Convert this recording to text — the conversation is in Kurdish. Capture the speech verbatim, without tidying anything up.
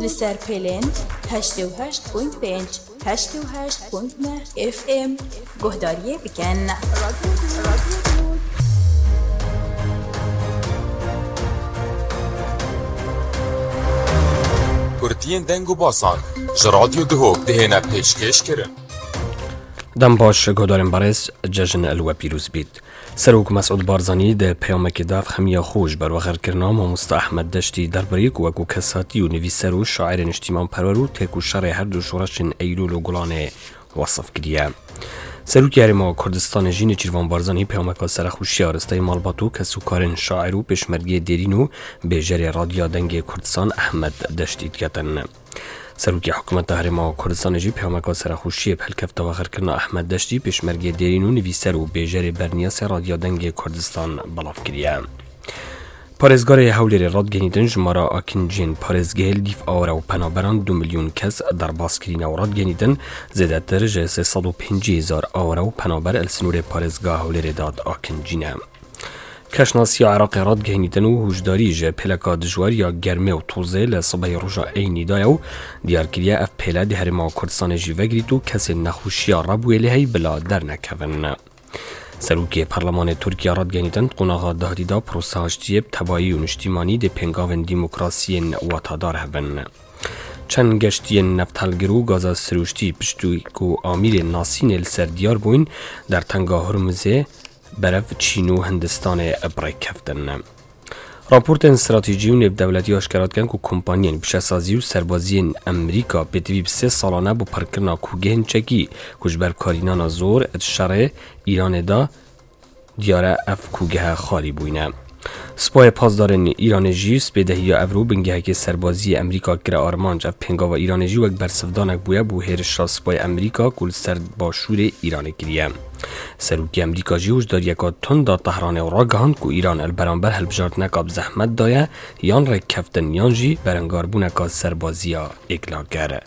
Li ser pêlên heştê û heşt point pênc, heştê û heşt point neh F M guhdariyê bikin. Kurtiyên deng û basan ji Radyo Duhok dihêne pêşkêş kirin. Dem baş, guhdarên berêz, cejn li we pîroz bît. Serok Mesûd Barzanî di peyamekê de xemiya xwe ji ber wexerkirina mamoste Ehmed Deştî derbarê ku wekû kesatî û nivîser û şairê niştîmanperwer û têk û şerê her du şoreşên Eylûl û Gulanê wesif kiriye. Serokê Herêma Kurdistanê jî Nêçîrvan Barzanî peyameka serexweşiya risteyê malbat û kesûkarên şair û pêşmergeyê dêrîn û bêjerê Radya Dengê Kurdistan Ehmed Deştî diketin. Serokê Hikûmeta Herêma Kurdistanê jî peyameka serexweşiyê bi helkefta wexerkirina Ehmed Deştî, pêşmergê dêrîn û nivîser û bêjerê berniyasê Radya Dengê Kurdistan belav kiriye. Parêzgarê Hewlêrê radgenîtin jimara akinciyên parêzgehê li dîv awre û penaberan du milyon kes derbas kirîne û radgenîtin zêdetir ji sê sed û pêncî hezar awre û penaber li sinûrê parêzgeha Hewlêrê de akincîne. Keşnasiya Iraqê radgehînîtin û hûşdarî ji pêleka dijwar ya germê û tozê li sibehê roja Eynî daye û diyar kiriye ev pêle di Herêma Kurdistanê jî vegrît û kesên nexweşiya rebûyê lê hey bila dernekevin. Serokê Perlemanê Tirkiye radgehînîtin di qonaxa dahatî de prosa aştiyê bi tebayî û niştîmanî dê pêngavên demokrasiyên watadar hebin. Çend geştiyên nefthilgir û gaza sirûştî piştî ku amîrên nasînê li ser diyar bûyn, dertenga Hurmizê berev Çîn û Hindistanê bi rêk keftin. Raportên stratejî û nêvdewletî aşkera dikin ku kompaniyên pişesazî û serbaziyên Amerîka pêtivî bi sê salane bi parkirina kûgehên çekî ku ji ber karînana zor di şerê Îranê de diyar e ev kûgehe xalî bûyne. Sipayê Pasdarên Îranê jî spêdehiya evro bingehekê serbazî yê Amerîka kire armanc. Ev pêngava Îranê jî wek bersivdanek bûye bo hêrişa sipayê Amerîka ku li ser başûrê Îranê kiriye. Serokê Amerîka jî hişdariyeka tund da Tehranê û ragihand ku Îran li beramber hilbijartineka bi zehmet daye yan rêkkeftin yan jî berengarbûneka serbaziya êklaker.